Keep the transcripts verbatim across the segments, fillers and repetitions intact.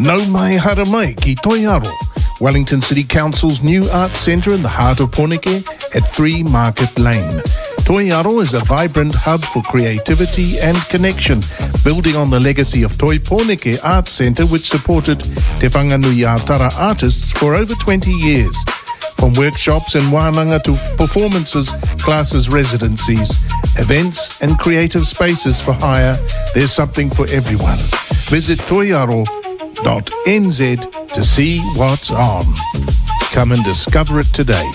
Nau mai haere mai ki Toi Aro, Wellington City Council's new arts centre in the heart of Pōneke at three Market Lane. Toi Aro is a vibrant hub for creativity and connection, building on the legacy of Toi Pōneke Arts Centre, which supported Te Whanganui-a-Tara artists for over twenty years. From workshops and wānanga to performances, classes, residencies, events and creative spaces for hire, there's something for everyone. Visit toiaro dot nz to see what's on. Come and discover it today.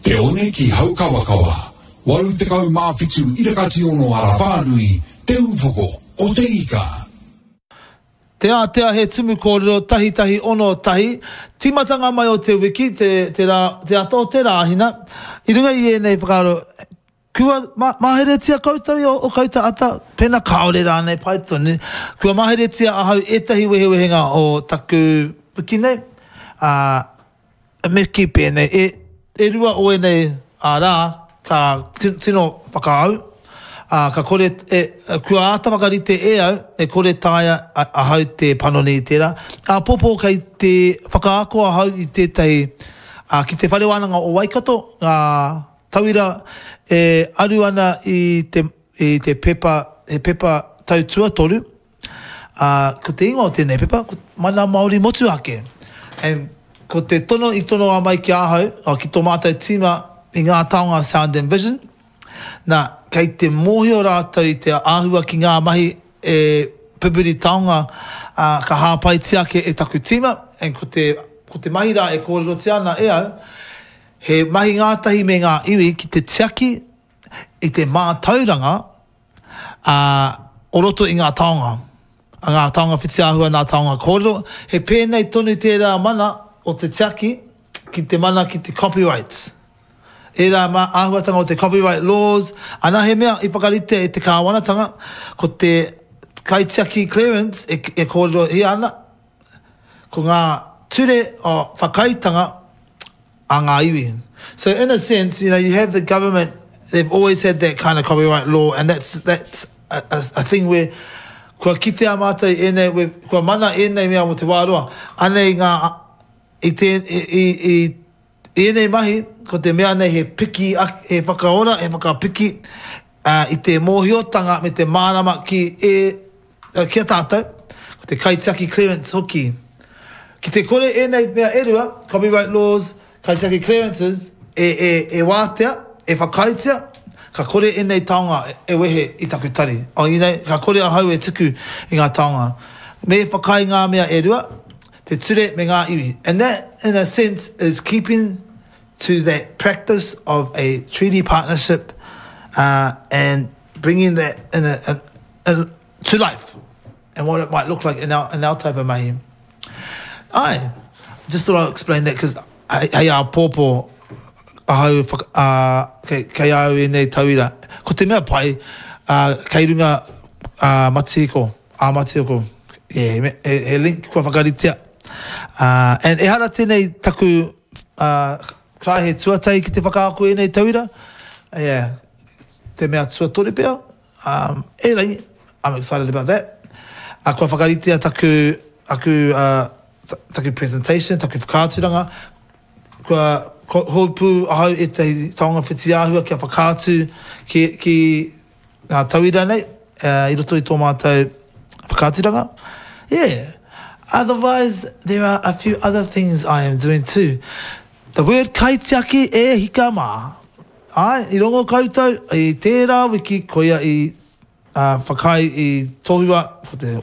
Te one ki Haukawakawa, waru tekau mā whitu irakati ono ara whānui, Te Upoko o Te Ika. Te Ātea he tumu kōrero tahi tahi ono tahi, tīmatanga mai o te wiki, te, te, rā, te ata o te Rāhina. I runga i ēnei whakaaro, kua ma, maheretia koutou i o, o koutou ata, pēnā kāore rānei, pai tonu. Kua maheretia ahau ētahi wehewehenga o taku wiki nei, ā, me kī pēnei, e, e rua o ēnei rā ka tino whakaau, ā, ka kore, e, kua āta whakarite e au, e kore taea ahau te panoni i tērā. Āpōpō kei te whakaako ahau i tētahi, ā, ki Te Whare Wānanga o Waikato, ngā tauira e aru ana i te, i te pepa, he pepa tau tuatoru, ā, ko te ingoa o tēnei pepa, ko Mana Māori Motuhake. And ko te tono i tonoa mai ki ahau, oh, ki tō mātou tīma i ngā taonga Sound and Vision, nā, kei te mōhio rātou i te āhua ki ngā mahi e pupuri taonga, ā, ka hāpaitia ake e taku tīma, and ko te, ko te mahi rā e kōrerotia ana e au, he mahi ngātahi me ngā iwi ki te tiaki i te mātauranga, ā, o roto i ngā taonga, a ngā taonga whitiāhua, ngā taonga kōrero, he pēnei tonu tērā mana o te tiaki ki te mana ki te copyrights. Ērā mā āhuatanga o te copyright laws, ana he mea i whakaritea e te kāwanatanga, ko te kaitiaki clearance e, e kōrerohia ana, ko ngā ture o whakaaetanga a ngā iwi. So in a sense, you know, you have the government, they've always had that kind of copyright law, and that's, that's a, a, a thing where kua kitea mātou i ēnei, we, kua mana ēnei mea mō te wā roa. Anei ngā, i, te, i, i, i, i ēnei mahi, ko te mea nei he piki, he whakaora, he whakapiki uh, i te mōhiotanga me te mārama ki, e, ki a tātou, ko te kaitiaki clearance hoki. Ki te kore ēnei mea e rua, copyright laws, kaitiaki clearances, e, e, e wātea, e whakaaetia, ka kore ēnei taonga e wehe i taku tari. O, you know, ka kore ahau e tuku i ngā taonga. Me whakaae ngā mea e rua, te ture me ngā iwi. And that, in a sense, is keeping to that practice of a treaty partnership uh, and bringing that in a, in, in, to life and what it might look like in our, in our type of mahi. Ai, just thought I'd explain that because hei āpōpō ahau whaka, uh, kei, kei au ēnei tauira. Ko te mea pai, uh, kei runga uh, matihiko, ā matihiko, yeah, he, he link kua whakaritea. Uh, and ehara tēnei taku uh, karaehe tuatahi ki te whakaako ēnei tauira. Yeah, te mea tuatoru pea. Um, erangi, I'm excited about that. Uh, kua whakaritea taku, aku, uh, taku presentation, taku whakaaturanga. Kua hou pū ahau ētahi taonga whitiāhua kia whakaatu ki, ki ngā tauira nei uh, i roto i tō mātou whakaaturanga. Yeah. Otherwise, there are a few other things I am doing too. The word kaitiaki e hika mā. Ai, i rongo koutou i tērā wiki koia i uh, whakaae i tohua ko te,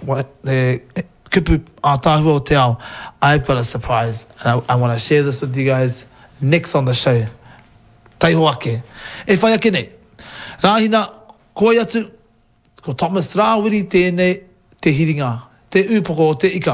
te kupu ātaahua o te ao. I've got a surprise and I, I want to share this with you guys next on the show. Taiho ake. E whai ake nei. Rāhina, koi atu, ko Thomas Rāwiri tēnei te hiringa, te upoko o te ika.